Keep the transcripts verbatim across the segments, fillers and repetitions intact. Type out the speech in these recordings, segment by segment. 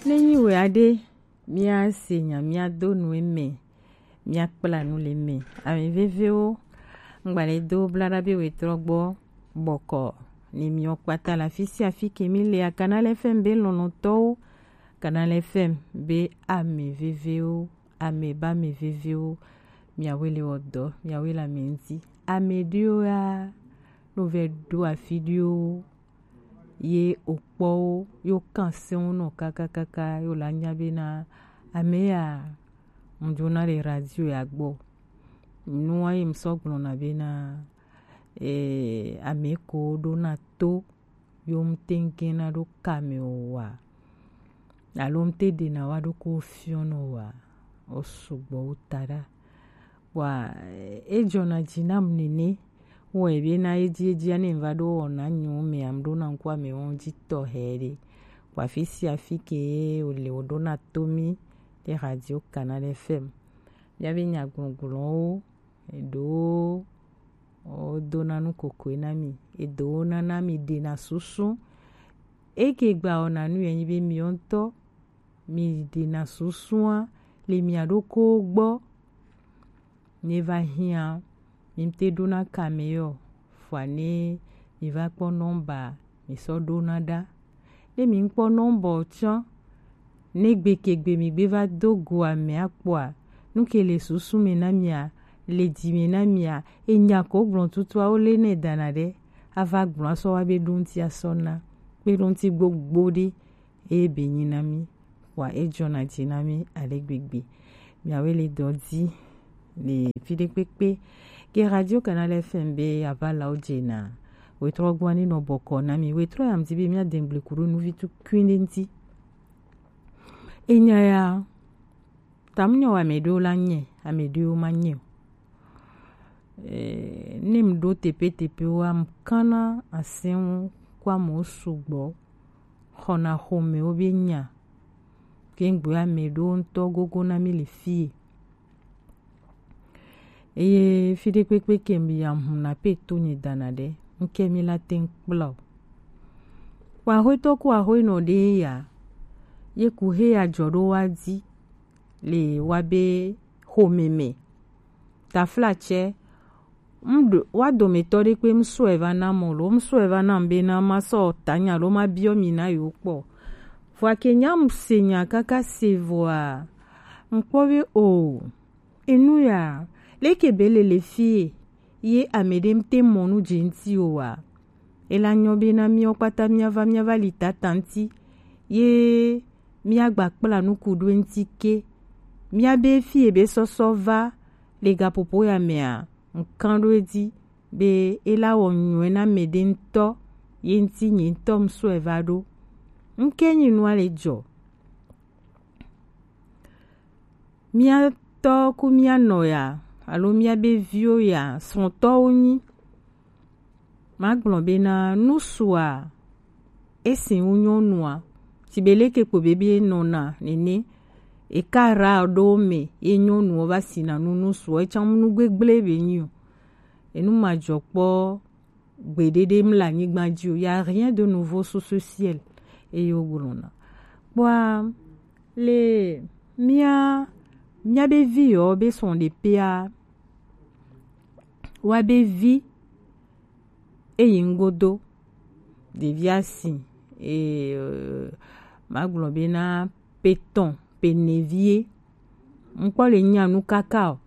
Ne nyi wɛ aɖe, míase nya, míado nu eme, míakpla nu le eme. Ame vevewo, ŋgbale do bla ɖa be wetrɔ gbɔ bɔkɔ ne miwo kpata le afi sia afi ke mi lea, Canal F M be lɔlɔ̃tɔwo, Canal F M be ame vevewo, ame ba ame vevewo, miawoe le wɔ dɔ, miawoe le ame ŋuti. Ame ɖewo ya, no vɛ ɖo afi ɖewo ye okpɔwo yo kan sɛnwo nɔ kakakaka yo la nya bena ame ya ŋdzona le radio ya gbɔ. Nua ye ŋsɔ gblɔna bena, eh, ame ko ɖona to yo ŋtengena ɖo kame o wa, alo ŋte ɖena wa ɖo ko fiɔnɔ wa, o sugbɔ wo ta ɖa. Wa, e jɔna dzi nam nene, wɔ ebe na edzi edzi ane va ɖo wɔna nyo me am ɖo na ŋku ame wɔn dzi tɔ he ɖe. Wa fi sia fi ke o le o ɖo na to mi ɖe radio Canal F M. Mía be nyagbɔgblɔwo, eɖewo wodona nu kokoe na mi, eɖewo nana mi ɖena susu. Eke gba wɔna nu yɛ nyi be miwo ŋutɔ mi ɖena susua le mia ɖokuiwo gbɔ. Ne va hiã, mi te ɖona kame yɔ, fua ne mi va kpɔ nɔmba mi sɔ ɖona ɖa. Ne mi kpɔ nɔmba tsã, ne gbe ke gbe mi gbe va do go ame akpɔa, nu ke le susu me na mia, le dzi me na mia, enya ko gblɔ tutua wo le ne dana ɖe, ava gblɔ asɔ wa be ɖo ŋuti asɔ na, kpe ɖo ŋuti gbogbo ɖe. Eye be nyi na mí, wa e jɔna dzi na mí ale gbegbe. Miawoe le dɔ dzi le fi ɖe kpekpe. Ke Radio Canal F M be ava lawo dze na. Wetrɔ gbɔ ani nɔ bɔkɔ na mi. Wetrɔ ya mdi be mía dengble kuɖo nuvi tu kuin ɖe ŋti. Enya ya, tam nyɔ wa ame ɖewo la nye, ame ɖewo ma nye o. Eh, ne m ɖo teƒeteƒewoa, m kana asɛwo kɔ amewo sugbɔ xɔna xɔmewo be nya. Ke ŋgbe ame ɖewo ŋutɔ gogo na mí le fie. Eye fi ɖe kpekpe ke m ya ŋu na pe to nye dana ɖe, ŋke mí la te ŋu kpla o. Kpa axoetɔ ku axoenɔ ɖe ya, ye ku he ya jɔ ɖo wa dzi le wa be xɔme me. Taflatsɛ, m ɖo wa dometɔ ɖe kpe m sɔe va na mɔ lo, m sɔe va na m be na ma sɔ ta nya lo ma biɔ mi na yo kpɔ. Vɔa ke nya m se nya kaka se vɔa, m kpɔ be o, enu ya, leke be le le fie, ye ame ɖe m te mɔ nu dze ŋti o wa. Ela nyɔ be na míawo kpata míava, míava li tata ŋti, ye míagba kpla nuku ɖo eŋti ke. Míabe fie be sɔsɔ va le gaƒoƒo ya mea, ŋkan ɖo edzi be ela wɔ nyuie na ame ɖe ŋutɔ, ye ŋti nye ŋutɔ m sɔe va ɖo. Ŋke nyi nua le jɔ. Mía tɔ ku mía nɔ ya, alo mía be viwo ya, srɔ̃tɔwo nyi. Magblɔ bena nusua, esi wu nyɔnua, si be leke kpo be be nɔna nene, eka ra ɖo me, ye nyɔnuwo va sina nu nusua, etsã nu gbegble be nyi o. Enu ma jɔ kpɔ gbeɖeɖe mle anyigba dzi o. Y a rien de nouveau sous ce ciel. Eye wogblɔna. Kpɔa, le mía, mía be vi yɔ be sɔn ɖepea, wa be vi eyi ŋgodo, ɖevia si, e, euh, magblɔ be na petɔn, penevie, ŋkpɔ le nya nu kaka o.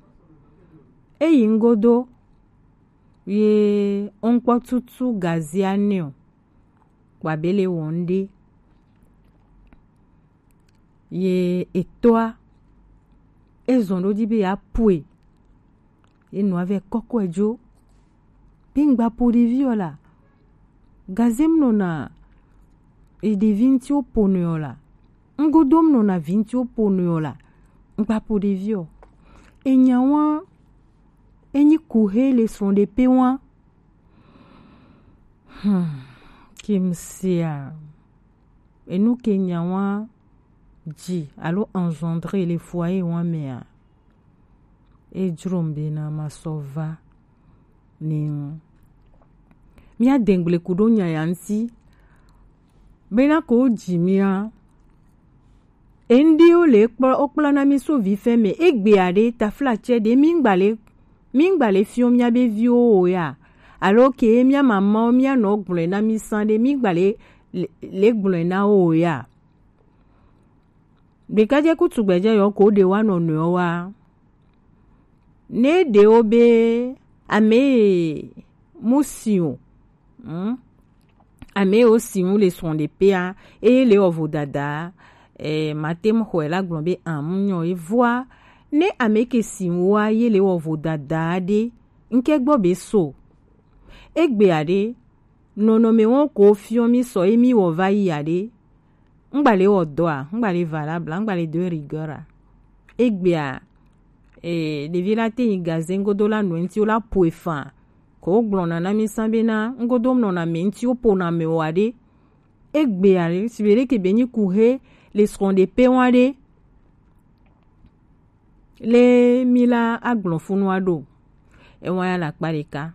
Eyi ŋgodo, ye ŋkpɔ tutu gazia nɛ o. Kpa be le wɔn ɖe. Ye etɔa, ezɔn ɖo dzi be ya pue. Ye nua vɛ kɔkɔe dzo. Be ŋgba po ɖevi o la. Gazem nɔna, e ɖevi ŋti wo ponɛ o la. Ŋgodom nɔna vi ŋti wo ponɛ o la. Ŋgba po ɖevi o. Enya wa, enyi kuhe le srɔ̃ɖeƒe wa. Hmm, ke m sea, enu ke nya wa dzi alo engendrer le foyer wa mea, e dzrom bena ma sɔ va ne ŋu. Mía dengble ku ɖo nya ya ŋti, bena ko wo dzi mía, Endi wo le kpɔ wo kpla na mi so vi fɛ mɛ egbe aɖe tafla cɛ ɖe mi ŋgba le mi ŋgba le fiɔ mia be viwo o ya alo ke mia mama wo mia nɔ gblɔe na mi san ɖe mi ŋgba le le le gblɔe na wo o ya. Ɖekadze kutu gbɛdze yɔ ko ɖe wa nɔ nɔe wa. Ne ɖewo be ame mu si o, hmm? Ame wo si ŋu le srɔ̃ ɖe pea, eye le wɔ vodada, eh, mate ŋu xɔe la gblɔ be amu nyɔ ye vɔa. Ne ame ke si ŋua ye le wɔ vodada ɖe, ŋke gbɔ be so. Egbe aɖe, nɔnɔme wɔn ko fiɔ mi sɔ ye mi wɔ va yi aɖe. Ŋgba le wɔ dɔa, ŋgba le valable, ŋgba le de rigueur a. Egbea, eh, ɖevi la te yi gaze ŋgodo la nɔ ŋti wo la po efan. Ko wo gblɔna na mi san bena ŋgodo nɔna mɛ ŋti wo pona mɛ o aɖe. Egbea le si be ɖeke be nyi ku he le srɔ̃ ɖe pe wa ɖe. Le mi la agblɔ funu aɖo. Ewa ya la kpa ɖeka.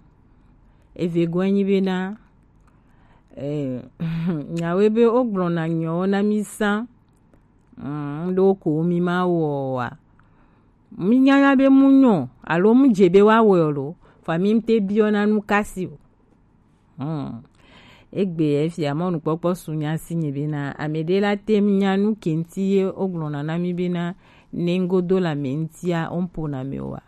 Eve gɔe nyi bena, eh, nyawoe be wo gblɔna nyɔwo na mi san. Mm, ɖo ko mi ma wɔ wa. Mi nyanya be mu nyɔ alo mu dze be wa wɔ lo. Fa mi te biɔ na nu kasi o. Hmm. Egbe efia mɔnukpɔkpɔ su nya si nye bena ame ɖe la te ŋu nya nu ke ŋti ye wo gblɔna na mi bena ne ŋgodo la me ŋtia wo ŋpona me o wa.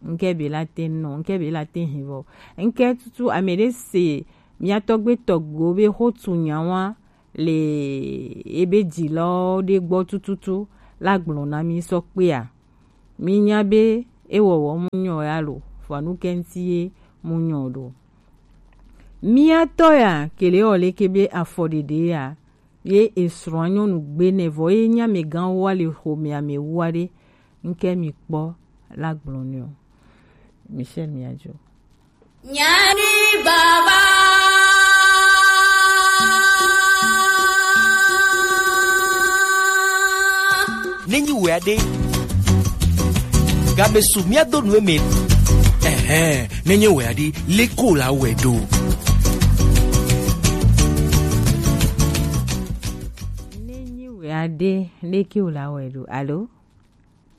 Ŋke be la te nɔ, ŋke be la te hin vɔ. Ŋke tutu ame ɖe se mia tɔgbe tɔgbewo be xo tu nya wa le ebe dzilawo ɖe gbɔ tututu la gblɔ na mi sɔ kpea. Mi nya be ewɔwɔ mu nyɔ ya lo, vɔa nu ke ŋti ye mu nyɔ ɖo. Mia tɔ ya kele wɔ leke be afɔ ɖeɖe ya ye esrɔ̃a nyɔnu gbe nɛ vɔ ye nya amegã wa le xomea me wa ɖe ŋke mi kpɔ la gblɔ nɛ o. Michel Miajo. Nyani baba. Nenyi wɛ aɖe. Game su mía do nu eme. Ɛhɛn, nenye wɛ aɖe, leko la wɛ ɖo. Nenyi wɛ aɖe, leko la wɛ ɖo. Alo?